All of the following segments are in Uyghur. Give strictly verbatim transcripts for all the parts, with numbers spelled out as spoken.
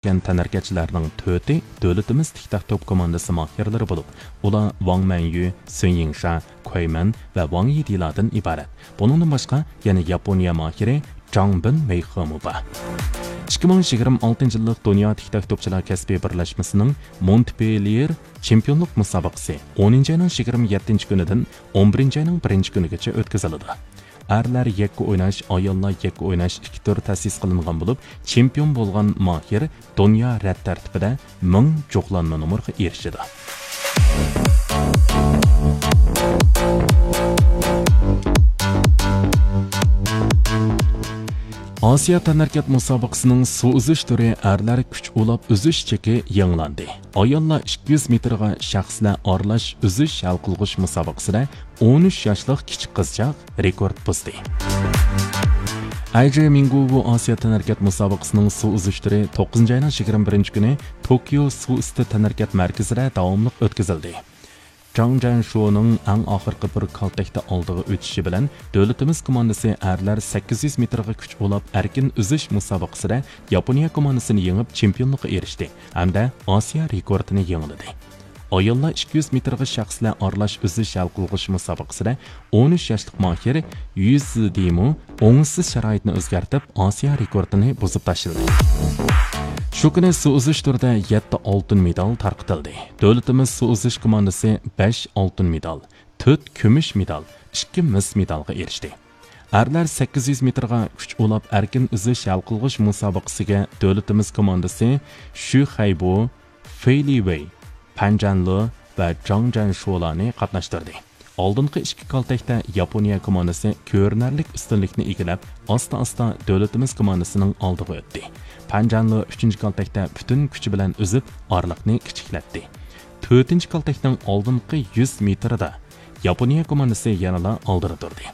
كەن تەنھەرىكەتچىلەرنىڭ تۆتى دۆلىتىمىز تىك تاك توپ كوماندىسى ماھىرلىرى بولۇپ، ئۇلار ۋاڭ مەنيۈ، سۈن يىڭشا، كۇەي مەن ۋە ۋاڭ يىدىلادىن ئىبارەت. بۇنىڭدىن باشقا، يەنە ياپونىيە ماھىرى جاڭ بىن مېيخېمۇ بار. ئىككى مىڭ يىگىرمە ئالتىنچى يىللىق دۇنيا تىك تاك توپچىلار كەسپىي بىرلەشمىسىنىڭ مونتپېليېر چېمپىيونلۇق مۇسابىقىسى ئونىنچى ئاينىڭ يىگىرمە يەتتىنچى كۈنىدىن ئون بىرىنچى ئاينىڭ بىرىنچى كۈنىگىچە ئۆتكۈزۈلىدۇ. ئەرلەر يەككە ئويناش، ئاياللار يەككە ئويناش ئىككى تۈر تەسىس قىلىنغان بولۇپ، چېمپىيون بولغان ماھىر دۇنيا رەت تەرتىپىدە مىڭ جۇغلانما نومۇرغا ئېرىشىدۇ. ئاسىيا تەنھەرىكەت مۇسابىقىسىنىڭ سۇ ئۈزۈش تۈرى ئەرلەر كۈچ ئۇلاپ ئۈزۈش چېكى يېڭىلاندى. ئاياللار ئىككى يۈز مېتىرغا شەخسلەر ئارىلاش ئۈزۈش ھەل قىلغۇچ مۇسابىقىسىدە ئون ئۈچ ياشلىق كىچىك قىزچاق رېكورت بۇزدى. ئەيجې مىڭگۇۋۇ ئاسىيا تەنھەرىكەت مۇسابىقىسىنىڭ سۇ ئۈزۈش تۈرى توققۇزىنچى ئاينىڭ يىگىرمە بىرىنچى كۈنى توكيو سۇ ئۈستى تەنھەرىكەت مەركىزىدە داۋاملىق ئۆتكۈزۈلدى. جاڭ جەنشۇنىڭ ئەڭ ئاخىرقى بىر كالتەكتە ئالدىغا ئۆتۈشى بىلەن دۆلىتىمىز كوماندىسى ئەرلەر سەككىز يۈز مېتىرغا كۈچ ئۇلاپ ئەركىن ئۈزۈش مۇسابىقىسىدە ياپونىيە كوماندىسىنى يېڭىپ، چېمپىيونلۇققا ئېرىشتى ھەمدە ئاسىيا رېكورتىنى يېڭىلىدى. ئاياللار ئىككى يۈز مېتىرغا شەخسلەر ئارىلاش ئۈزۈش ھەل قىلغۇچ مۇسابىقىسىدە ئون ئۈچ ياشلىق ماھىر يۈ زىدىمۇ ئوڭۇشسىز شارائىتنى ئۆزگەرتىپ، ئاسىيا رېكورتىنى بۇزۇپ تاشلىدى. شۇ كۈنى سۇ ئۈزۈش تۈرىدە يەتتە ئالتۇن مېدال تارقىتىلدى. دۆلىتىمىز سۇ ئۈزۈش كوماندىسى بەش ئالتۇن مېدال، تۆت كۈمۈش مېدال، ئىككى مىس مېدالغا ئېرىشتى. ئەرلەر سەككىز يۈز مېتىرغا كۈچ ئۇلاپ ئەركىن ئۈزۈش ھەل قىلغۇچ مۇسابىقىسىگە دۆلىتىمىز كوماندىسى شۈ خەيبۇ، فېي لى ۋېي، پەن جەنلې ۋە جاڭ جەنشۇلارنى قاتناشتۇردى. ئالدىنقى ئىككى كالتەكتە ياپونىيە كوماندىسى كۆرۈنەرلىك ئۈستۈنلۈكنى ئىگىلەپ، ئاستا-ئاستا دۆلىتىمىز كوماندىسىنىڭ ئالدىغا ئۆتتى. پەن جەنلې ئۈچىنچى كالتەكتە پۈتۈن كۈچى بىلەن ئۈزۈپ، ئارىلىقنى كىچىكلەتتى. تۆتىنچى كالتەكنىڭ ئالدىنقى يۈز مېتىرىدا ياپونىيە كوماندىسى يەنىلا ئالدىدا تۇردى.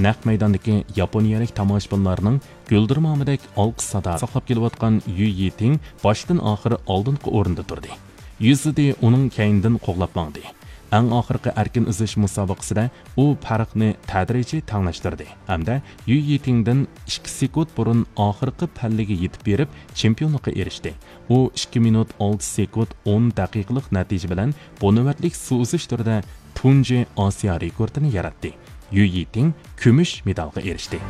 نەق مەيداندىكى ياپونىيەلىك تاماشىبىنلارنىڭ گۈلدۈرمامىدەك ئالقىش سادا ساقلاپ كېلىۋاتقان يۈ يىتىڭ باشتىن ئاخىر ئالدىنقى ئورۇندا تۇردى. يۈ زىدى ئۇنىڭ كەينىدىن قوغلاپ ماڭدى. ئەڭ ئاخىرقى ئەركىن ئۈزۈش مۇسابىقىسىدە ئۇ پەرقنى تەدرىجىي تەڭلەشتۈردى ھەمدە يۈ يىتىڭدىن ئىككى سېكۇنت بۇرۇن ئاخىرقى پەللىگە يېتىپ بېرىپ، چېمپىيونلۇققا ئېرىشتى. ئۇ ئىككى مىنۇت ئالتە سېكۇنت ئون دەقىقىلىق نەتىجە بىلەن بۇ نۆۋەتلىك سۇ ئۈزۈش تۈرىدە تۇنجى ئاسىيا رېكورتىنى ياراتتى. يۈ يىتىڭ كۈمۈش مېدالغا ئېرىشتى.